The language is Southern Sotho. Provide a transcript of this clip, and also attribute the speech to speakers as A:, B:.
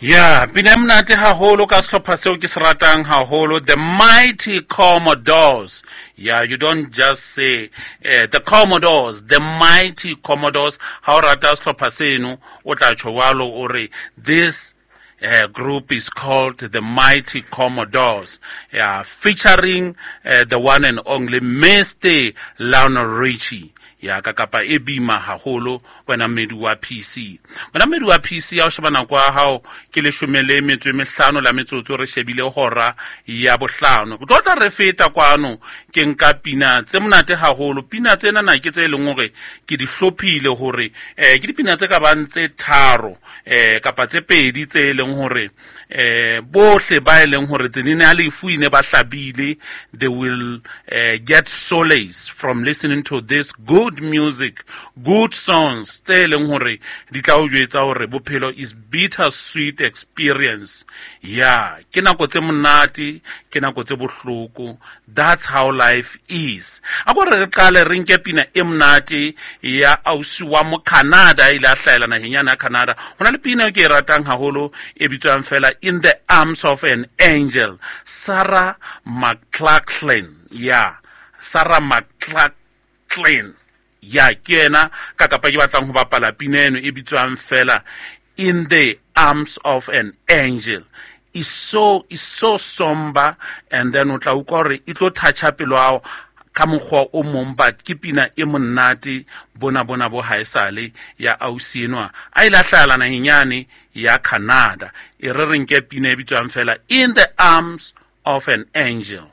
A: Ya pina e monate haholo ka sehlopha seo ke se ratang haholo, The Mighty Commodores. Yeah, you don't just say The Commodores, The Mighty Commodores. Ha o rata sehlopha seno, o tla tjho jwalo, o re this group is called The Mighty Commodores, yeah, featuring the one and only Mr. Lionel Richie. Ya ka kapa e bima haholo wena mmedi wa PC, wena mmedi wa PC. Ya o sheba nako ya hao ke 15 la metsotso, re shebile hora ya bohlano. Go tlo tla re feta kwano, ke nka pina tse monate haholo. Pina tsena na ke tse leng hore ke di hlophile hore ke dipina tse ka bang tse tharo kapa tse pedi tse leng hore bohle ba e leng hore tsenene ya lefu ine ba hlabile, they will get solace from listening to this good music, good songs tse leng hore di tla o jwetsa hore bophelo is bitter sweet experience. Ya, ke nako tse monate, ke nako tse bohloko. That's how life is. A ko re re qale re nke pina e monate ya ausi wa mo Canada, ile a hlahela naheng yana ya Canada. Ho na le pina e ke e ratang haholo e bitswang fela In the Arms of an Angel, Sarah McLachlan. Ya, Sarah McLachlan, ya, ke yena ka kapa ke batlang ho bapala pina eno e bitswang fela In the Arms of an Angel. Is so somber, and then o tla utlwa hore e tlo toucha pelo hao ka mokgwa o mong, but ke pina e monate bona bona bo haesale ya ausi enwa a ile a hlahela naheng yane ya Canada. E re re nke pina e bitswang fela In the Arms of an Angel.